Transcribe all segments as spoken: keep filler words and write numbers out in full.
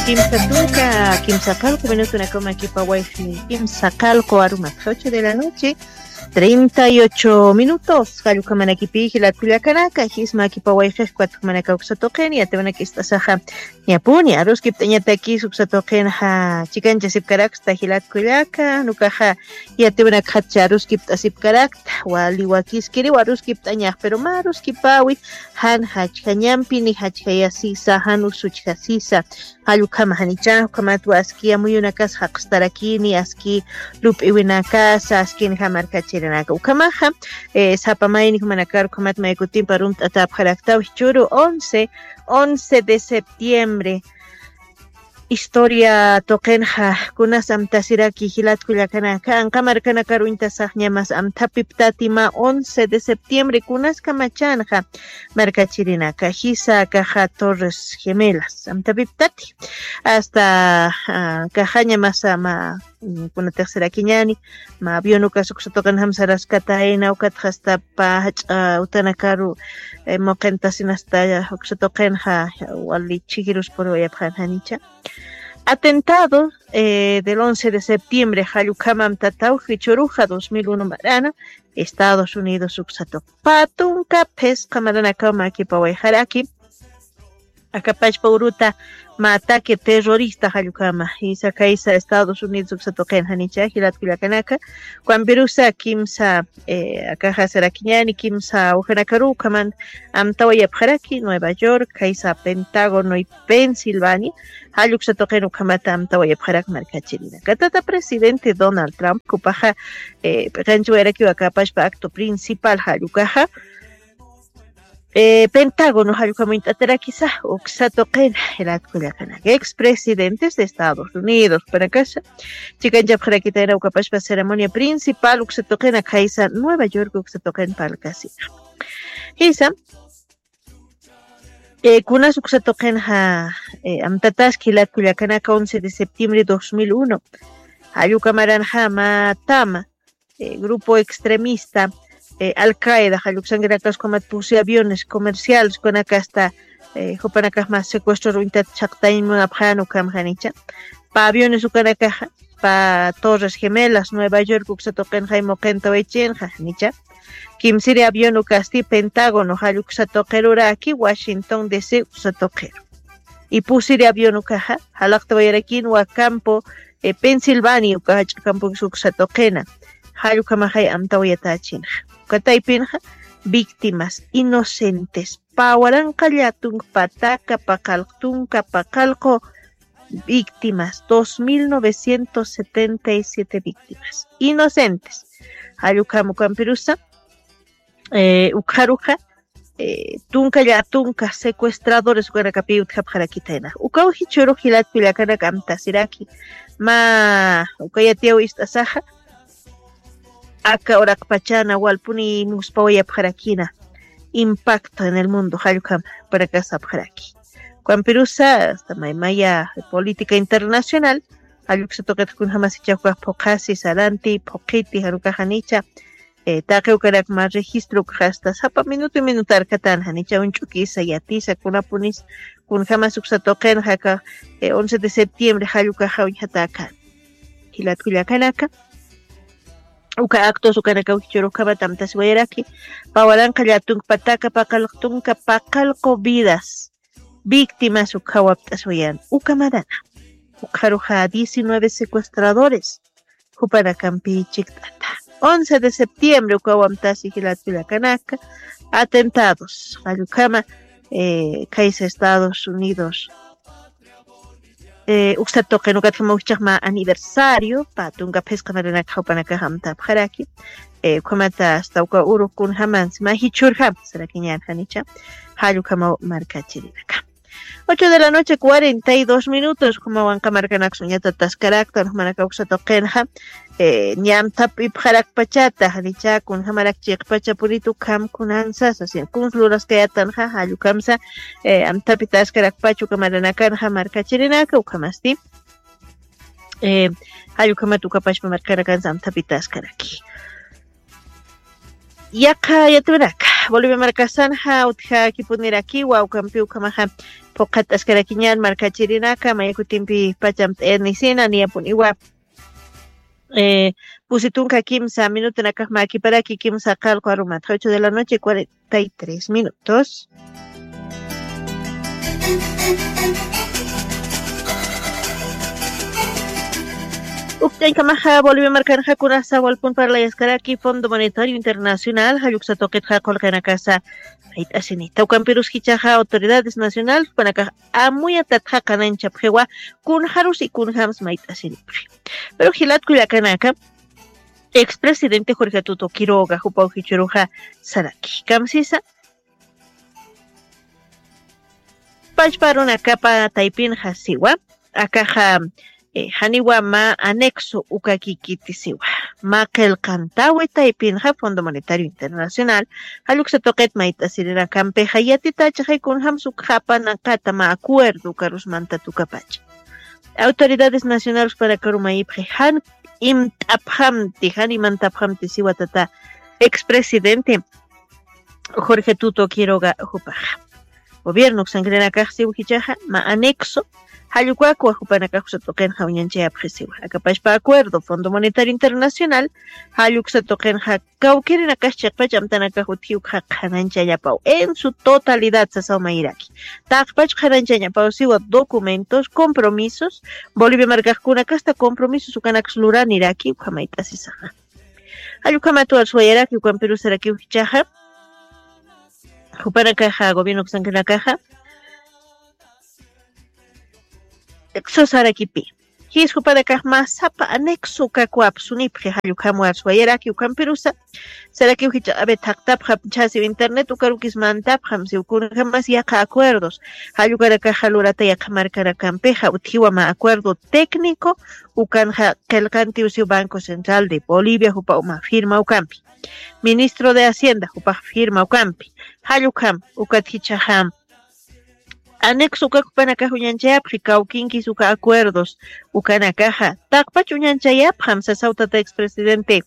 Kimsa tunka, kimsa qallqu minutunakamakipa wayqi, kimsa qallqu arumatxa ocho de la noche, treinta y ocho minutos. Jallukhamanakipï jilat kullakanaka, jismakipa wayqix kuwat ukhamanaka uksa tuqin, yatiwanakist'asaxa ñapuni aruskipt'añatakis uksa tuqinxa chikanchasipkaraksta jilat kullaka, nukaxa yatiwanakxatcha aruskipt'asipkarakta, wali wakiskiriw aruskipt'añax, pero mä aruskipäwi, jan jachjañampi ni jachjayasisa, jan usuchjasisa, jall ukhama janicha, ukhamatwa aski amuyunakas jaqstarakini, aski lup'iwinakasa, askinxa markachirinaka. Ukhamaxa, eh, sapa mayni jumanakar ukhamat maykutimpa runt'atäpxaraktaw jichhüru once, once de septiembre. Historia tuqinxa kunas amtasiraki jilat kullakanaka, anqa markanakar uñtasax ñamas amthapiptati mä once de septiembre kunas kamachanxa markachirinaka, jisa akaxa Torres Gemelas amthapiptati. Hasta, ah, akaxa ñamasa mä, mm, kunatix sarakiñäni, mä avión ukas uksa tuqinjam saraskatayna, ukatxa hasta pä jach'a utanakaru, eh, muqintasinasta uksa tuqinxa wali chhijirus puriwayapxän janicha. Atentado, eh, del once de septiembre, jall ukham amtataw jichhüruxa dos mil uno marana, Estados Unidos uksa tuq. Pä tunka phisqa maranakaw mäkipawayxaraki, aka pachpa uruta mä ataque terrorista jall ukhama, jisa kaysa Estados Unidos uksa tuqin janicha jilat kullakanaka, ukhampirusa kimsa, eh, akaxa sarakiñäni, kimsa ujanakaruw ukhaman amtawayapxaraki, Nueva York, kaysa Pentágono y Pensilvania, jall uksa tuqin ukhamata amtawayapxarak markachirinaka. Tata presidente Donald Trump, jupaxa, eh, p'iqanchiwayarakiw aka pachpa acto principal jall ukaxa, eh, Pentágono jall ukham uñt'atarakisa, uksa tuqin jilat kullakanaka. Ex presidentes de Estados Unidos, jupanakasa chikanchapxarakitayna uka pachpa ceremonia principal uksa tuqin akaysa Nueva York uksa tuqin parlkasina. Jisa, eh, kunas uksa tuqinxa, eh, amtataski jilat kullakanaka, once de septiembre dos mil uno. Jall uka maranxa mä tama, eh, grupo extremista, eh, Al Qaeda, jall uksankirakas ukhamat pusi aviones comerciales ukanakasta, eh, jupanakax mä secuestro uñtat chhaqtañ munapxän ukham janicha. Pä aviones ukanakaxa, pä Torres Gemelas, Nueva York uksa tuqinxa muqintawaychinxa janicha. Kimsiri avión ukasti Pentágono jall uksa tuqiruraki, Washington D C uksa tuqiru. Y pusiri avión ukaxa jalaqtawayarakinwa campo, eh, Pensilvania uka jach'a campo uksa tuqina. Jall ukhamaxay amtawayatächinxa. Uka taypinxa víctimas inocentes, pä waranqa llätunk pataka paqallq tunka paqallqu víctimas, dos mil novecientos setenta y siete víctimas inocentes. Jall ukham ukhampirusa, eh, ukxaruxa, eh, tunka llätunka secuestradores ukanakapï utjapxarakitayna. Ukaw jichhürux jilat kullakanaka amtasiraki. Mä uka yatiyaw ist'asaxa, aka uraqpachana walpuni muspawayapxarakina impacto en el mundo, jall ukham jupanakax sapxaraki. Ukhampirusa, hasta maymaya política internacional, jall uksa tuqit kunjamas jichha ukax phuqhasi, saranti, phuqhiti, jan ukax janicha, eh, taqi ukanak mä registro ukax hasta sapa minuto minutarkatan, janicha uñch'ukisa, yatisa, kunapunis, kunjamas uksa tuqinxa aka, eh, once de septiembre jall ukaxa uñjatäkän. Jilat kullakanaka, uka actos ukanakaw jichhürux ukhamat amtasiwayaraki, pä waranqa llätunk pataka paqallq tunka paqallqu vidas víctimas ukhaw apt'asiwayan uka marana. Ukxaruxa diecinueve secuestradores jupanakampï chikt'ata. Once de septiembre ukaw amtasi jilat kullakanaka, atentados, jall ukhama, eh, kaysa Estados Unidos, eh, uksa tuqin ukatjama ujchhax mä aniversario, pä tunka phisqa maranakax jupanakax amtapxaraki, eh, ukhamata hasta uka urux kunjamansi, mä jichhürjam sarakiñän janicha, jall ukhamaw markachirinaka. Ocho de la noche, cuarenta y dos minutos, ukhamaw anqa markanaksa uñatataskaraktan, jumanakax uksa tuqinxa, eh, ñä amtapipxarakpachata, janicha kunjamarak chiqpacha puritu ukham kunansasa, sino kuns luraskayatanxa, jall ukhamsa, eh, amtapitaskarakpacha uka maranakanxa markachirinaka, ukhamasti, eh, jall ukhamat uka pachpa markanakansa amtapitaskaraki. Yaqha yatiwanaka, Bolivia markasanxa utjakipunirakiwa ukampi ukhamaxa phuqhat'askarakiñan markachirinaka mayakutimpi pachamt'ayanisina niyapuniwa. Eh, pusi tunka kimsa minutunakax makiparaki kimsa qalqu arumatxa ocho de la noche cuarenta y tres minutos. Uktaykamaxa Bolivia markanxa kunasa walpun parlayaskaraki Fondo Monetario Internacional jalluksatukitxa qulqanakasa mayt'asinita ukampirus jichaxa autoridades nacionales panakax amuyatatxa qananchapxiwa kunxarus ikunxams mayt'asinipxi. Pero jilatkullakanaka expresidente Jorge Tuto Quiroga jupaw jichuruxa saraki kamsisa pachparunakapa taypinxa siwa akaxa janiwa mä anexo ukakikiti siwa mä qillqantawi taypinxa Fondo Monetario Internacional jalluksa tuqit mayt'asirinakampixa yatitachaxay kunjams ukxapanaqata mä acuerdo ukarusmantatukapacha. Autoridades nacionales panakarumayipxi jan imt'apxamti jan imantapxamti siwatata expresidente Jorge Tuto Quiroga jupaxa. Gobierno uksankirinakax siw jichaxa mä anexo jallukakwa jupanakax uksatuqinxa uñanchayapxisiwa akapashpa acuerdo Fondo Monetario Internacional jalluksa tuqinxa kawkirinakax chiqpach amtanakax utjiwkxa qhananchañapaw en su totalidad sasaw mayiraki. Taqpach qhananchañapaw siwa documentos compromisos Bolivia markaxkunakasta compromisos ukanaks luraniraki ukhamayt'asisaxa. Jallukhamatuwar suwayaraki ukampirusarakiw jichaxa jupanakaxa gobierno uksankinakaxa sosarakipi jis jupanakax mä sapa anexo ukakwapsunipxi jallukhamwar suwayaraki ukampirusa sarakiw jicha abe thaqtapxam chhasiw internet ukarukis mantapxam siw kunjamas yaqa acuerdos jallukanakaxa lurata yaqa markanakampixa utjiwa mä acuerdo técnico ukanxa qillqantiw siw Banco Central de Bolivia jupa uma firma ukampi ministro de hacienda jupax firma ukampi jallukham ukat jichaxam anexo ukak jupanakax uñanchayapxi kawkinkis uka acuerdos ukanakaxa taqpach uñanchayapxam sasaw tata expresidente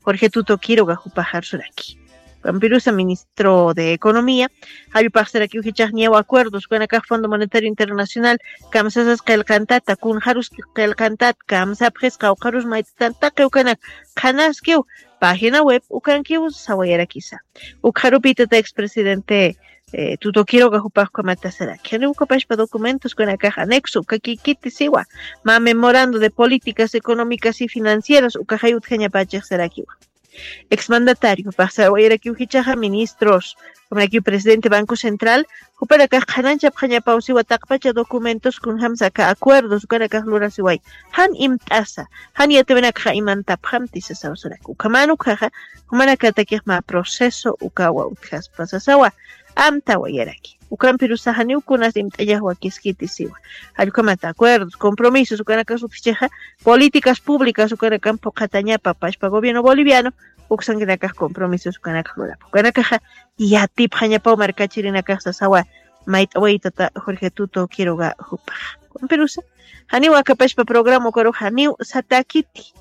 Jorge Tuto Quiroga jupaxarsuraki. Ukampirusa ministro de economía jallupaxsarakiw jichax niyaw acuerdos ukanakax Fondo Monetario Internacional kamsasas qillqantata kunxarus qillqantat kamsapxis qawqharus mayt'atan taqi ukanak qhanaskiw página web ukankiw sawayarakisa. Ukxarupïtata expresidente Tuto Quiroga jupax ukhamat saraki janiw ukapashpa documentos ukanakax anexo ukakikiti siwa mä memorando de políticas económicas y financieras ukaxay utjañapachix sarakiwa. Exmandatario jupax sawayarakiw jichaxa ministros ukhamarakiw presidente Banco Central jupanakax qhananchapxañapaw siwa taqpacha documentos kunjams aka acuerdos ukanakax lurasiway jan imt'asa jan yatiwinakxa imantapxamti sasaw saraki ukhaman ukhaxa jumanakatakix mä proceso ukawa utjaspa sasawa amtawayaraki. Ukampirusa janiw kunas imt'añax wakiskiti siwa jallukhamat acuerdos compromisos ukanakas utjichixa políticas públicas ukanakam phuqhatañapa pashpa gobierno boliviano uksankinakax compromisos ukanakax lurapa ukanakaxa yatipxañapaw markachirinakax sasawa mayt'awaytata Jorge Tuto Quiroga jupaxa. Ukampirusa janiw akapashpa programa ukarux janiw satakiti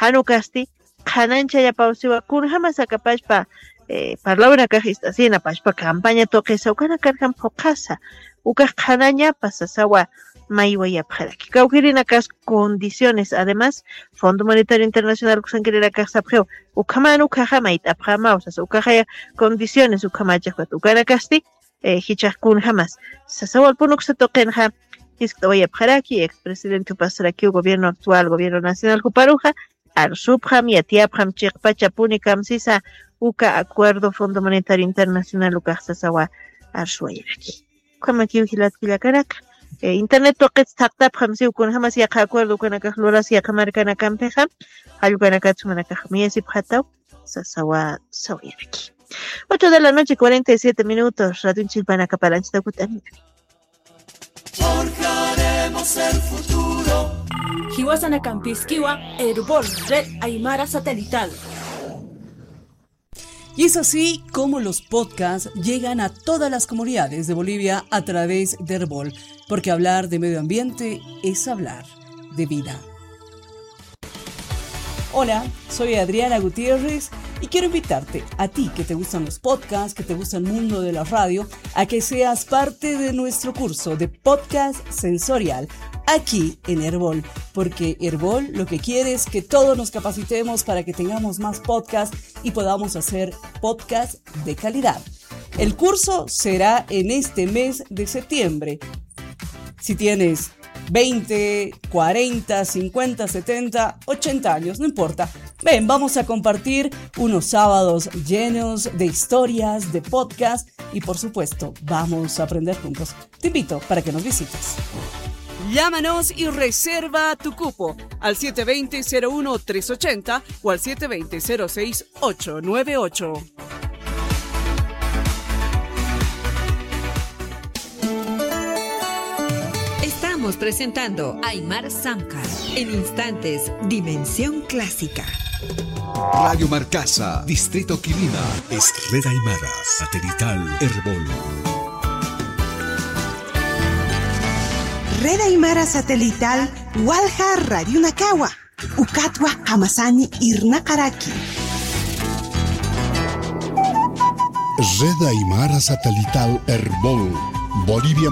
jan ukasti qhananchayapaw siwa kunjamas akapashpa parlawinakax ist'asina pashpa campaña tuqisa ukanakarjam phuqhasa ukax qhanañapa sasawa maywayapxaraki kawkirinakas condiciones además Fondo Monetario Internacional uksankirinakax sapxiw ukhaman ukhaxa mayt'apxamaw sasa ukaxaya condiciones ukhamachixpat ukanakasti jichax kunjamas sasa walpun uksa tuqinxa jiskt'awayapxaraki expresidente jupasrakiw gobierno actual gobierno nacional juparuxa arsupxam yatiyapxam chiqpachapuni kamsisa uka acuerdo Fondo Monetario Internacional ukax sasawa arsuwayaraki. Ukhamakiw jilatkillakanaka internet tuqits thaqtapxam siw kunjamas yaqa acuerdo ukanakax luras yaqa markanakampixa jallukanakat sumanakax miyasipxataw sasawa sawayaraki. Ocho de la noche cuarenta y siete minutos radionchilpanakaparanchita kut'anina. Forjaremos el futuro. Jiwasanakampis kiwa Erbol Red Aymara Satelital. Y es así como los podcasts llegan a todas las comunidades de Bolivia a través de Erbol, porque hablar de medio ambiente es hablar de vida. Hola, soy Adriana Gutiérrez Y quiero invitarte, a ti que te gustan los podcasts, que te gusta el mundo de la radio, a que seas parte de nuestro curso de podcast sensorial aquí en Erbol, porque Erbol lo que quiere es que todos nos capacitemos para que tengamos más podcasts y podamos hacer podcasts de calidad. El curso será en este mes de septiembre. Si tienes veinte, cuarenta, cincuenta, setenta, ochenta años, no importa. Ven, vamos a compartir unos sábados llenos de historias, de podcast y, por supuesto, vamos a aprender juntos. Te invito para que nos visites. Llámanos y reserva tu cupo al siete veinte, cero uno, tres ochenta o al siete veinte, cero seis, ocho nueve ocho. Estamos presentando Aymar Samkar. En instantes, Dimensión Clásica. Radio Marcasa, Distrito Quilima. Es Red Aymara, satelital Erbol. Red Aymara satelital Walja Radio Nakawa. Ukatwa jamasani irnaqaraki. Red Aymara satelital Erbol. Bolivia